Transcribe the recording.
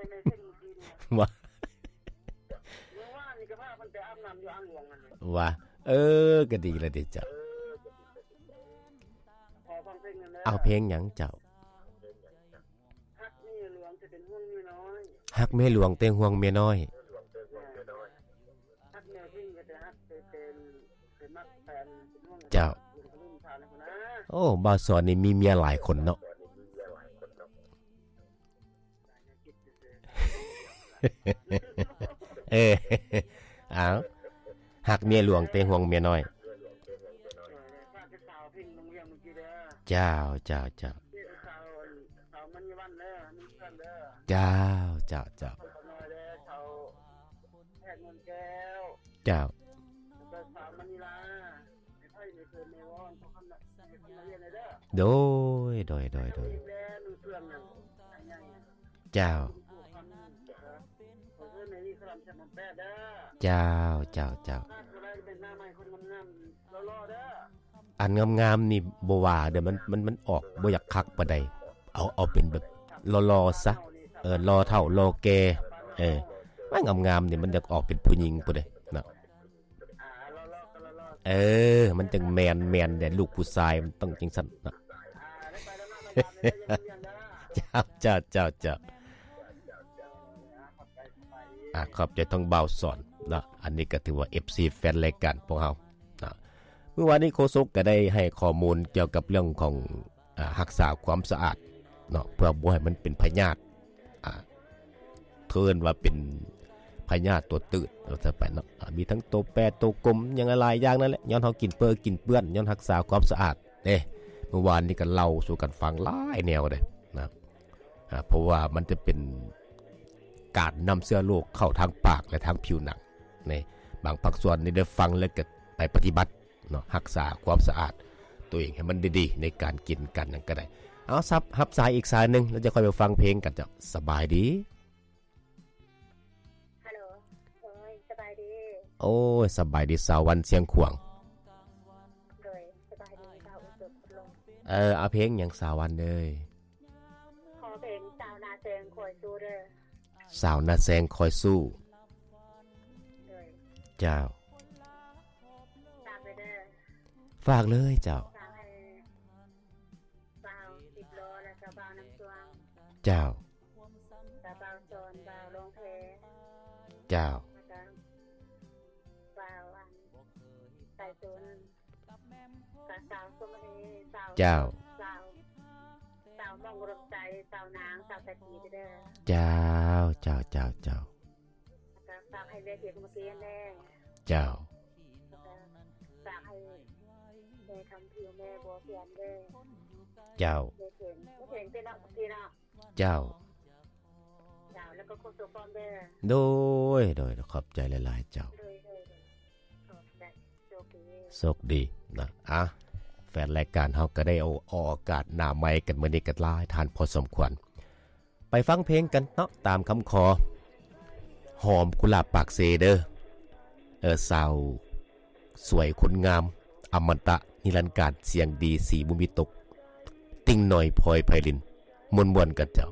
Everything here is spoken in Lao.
ວ່າ ເມື່ອວານນີ້ກໍພາເພິ່ນໄປອາບນ້ຳຢູ່ອ່າງຫຼວງນັ້ນ ວ່າ ເອີ ກໍດີລະເດເຈົ້າ. ຂໍຟັງເພງແດ່ເດີ. ເອົາເພງຫຍັງເຈົ້າ? ຮັກແມ່ຫຼວງແຕ່ເປັນຫ່ວງເມຍນ້ອຍ. ຮັກແມ່ຫຼວງແຕ່ຫ່ວງເມຍນ້ອຍ. ຮັກແມ່ເພິ່ນກໍຈະຮັກແຕ່ເປັນ ເປັນມັກແຟນເປັນຫ່ວງ. ເຈົ້າ. ໂອ້ ບ່າວສອນນີ້ມີເມຍຫຼາຍຄົນເນາະ. ເອີ ເອົາ ຮັກເມຍຫຼວງແຕ່ຫ່ວງເມຍນ້ອຍ. ເຈົ້າ ເຈົ້າ ເຈົ້າ. ເຈົ້າ ເຈົ້າ ເຈົ້າ ເຈົ້າ. ໂດຍ ໂດຍ ໂດຍ ໂດຍ. ເຈົ້າ ເຈົ້າ ເຈົ້າ ເຈົ້າ. ອັນງາມໆນີ້ບໍ່ວ່າເດີ້ ມັນ ມັນ ມັນອອກບໍ່ຢາກຄັກປານໃດ. ເອົາ ເອົາເປັນແບບຫຼໍ່ໆຊະ. ເອີ ຫຼໍ່ເຖົ້າ ຫຼໍ່ແກ່. ເອີ ວ່າງາມໆນີ້ມັນຢາກອອກເປັນຜູ້ຍິງພຸ້ນເດ້ເນາະ. ເອີ ມັນຈັ່ງແມ່ນ ແມ່ນແດ່ ລູກຜູ້ຊາຍມັນຕ້ອງຈັ່ງຊັ້ນເນາະ. ເຈົ້າ ເຈົ້າ ເຈົ້າ ເຈົ້າ. ອາ ຂອບໃຈທາງບ່າວສອນເນາະ. ອັນນີ້ກໍຖືວ່າເອັຟຊີແຟນລາຍການພວກເຮົາເນາະ. ມື້ວານນີ້ໂຄສົກກໍໄດ້ໃຫ້ຂໍ້ມູນກ່ຽວກັບເລື່ອງຂອງ ອາ ຮັກສາຄວາມສະອາດເນາະ ເພື່ອບໍ່ໃຫ້ມັນເປັນພະຍາດ ອາ ເອີ້ນວ່າເປັນພະຍາດຕົວຕືດວ່າຊັ້ນໄປເນາະ. ອາ ມີທັງໂຕແປ ໂຕກົມ ຫຍັງຫຼາຍໆຢ່າງນັ້ນແຫຼະ. ຍ້ອນເຮົາກິນເປິ ກິນເປື້ອນ ຍ້ອນຮັກສາຄວາມສະອາດເດ້. ມື້ວານນີ້ກໍເລົ່າສູ່ກັນຟັງຫຼາຍແນວເດ້ນະ. ອາ ເພາະວ່າມັນຈະເປັນການນຳເຊື້ອໂລກເຂົ້າທາງປາກ ແລະ ທາງຜິວໜັງ. ນີ້ ບາງພາກສ່ວນນີ້ໄດ້ຟັງແລ້ວກໍໄປປະຕິບັດເນາະ, ຮັກສາຄວາມສະອາດຕົວເອງໃຫ້ມັນດີໆ ໃນການກິນການຫຍັງກໍໄດ້. ເອົາ ຮັບສາຍອີກສາຍໜຶ່ງ ແລ້ວຈະຄ່ອຍໄປຟັງເພງກັນເຈົ້າ. ສະບາຍດີ. ຮັລໂຫຼ ໂດຍ ສະບາຍດີ. ໂອ້ຍ ສະບາຍດີ ສາວວັນຊຽງຂວາງ. ໂດຍ ສະບາຍດີ ບ່າວອຸດມ. ເອີ ເອົາເພງຫຍັງ ສາວວັນເອີຍ? ຂໍເພງສາວໜ້າແຊງຄອຍສູ້ເດີ້. ສາວໜ້າແຊງຄອຍສູ້. ໂດຍ. ເຈົ້າ. ຝາກເລີຍເດີ. ຝາກເລີຍເຈົ້າ. ຝາກໃຫ້ບ່າວສິບລໍ້ ແລະ ກໍບ່າວນ້ຳຊ່ວງ. ເຈົ້າ. ແລ້ວບ່າວສອນ ບ່າວຫຼວງແພ. ເຈົ້າ. ແລ້ວກໍບ່າວອັນ ໄຕສົນ. ກະສາວສຸມະນີ ສາວ ເຈົ້າ ສາວ ສາວມົງອຸດົມໄຊ ສາວນາງ ສາວຕາກີເດີ. ເຈົ້າ ເຈົ້າ ເຈົ້າ ເຈົ້າ. ກະຝາກໃຫ້ແມ່ເທກເມື່ອກີ້ຫັ້ນແດ່. ເຈົ້າ. ກະຝາກໃຫ້ແມ່ຄຳຜິວ ແມ່ບົວພຽນເດີ. ເຈົ້າ. ແມ່ເພງ ແມ່ເພງເປັນເນາະ ເມື່ອກີ້ເນາະ. ເຈົ້າ. ເຈົ້າ ແລ້ວກໍໂຄສົກພ້ອມເດີ. ໂດຍ ໂດຍ ຂອບໃຈຫຼາຍໆເຈົ້າ. ໂດຍ ໂດຍ ໂດຍ ຂອບໃຈ. ໂຊກດີ ໂຊກດີນະ. ອ່ະ ແຟນລາຍການເຮົາກໍໄດ້ເອົາ ອອກອາກາດໜ້າໄມກັນມື້ນີ້ກໍຫຼາຍທ່ານພໍສົມຄວນ. ໄປຟັງເພງກັນເນາະ ຕາມຄຳຂໍ ຫອມກຸຫຼາບປາກເຊເດີ. ເອີ ສາວສວຍຄົນງາມ ອະມະຕະນິລັນການ ສຽງດີສີບໍ່ມີຕົກ ຕິ່ງໜ້ອຍ ພອຍ ໄພລິນ. ມ່ວນໆກັນເຈົ້າ.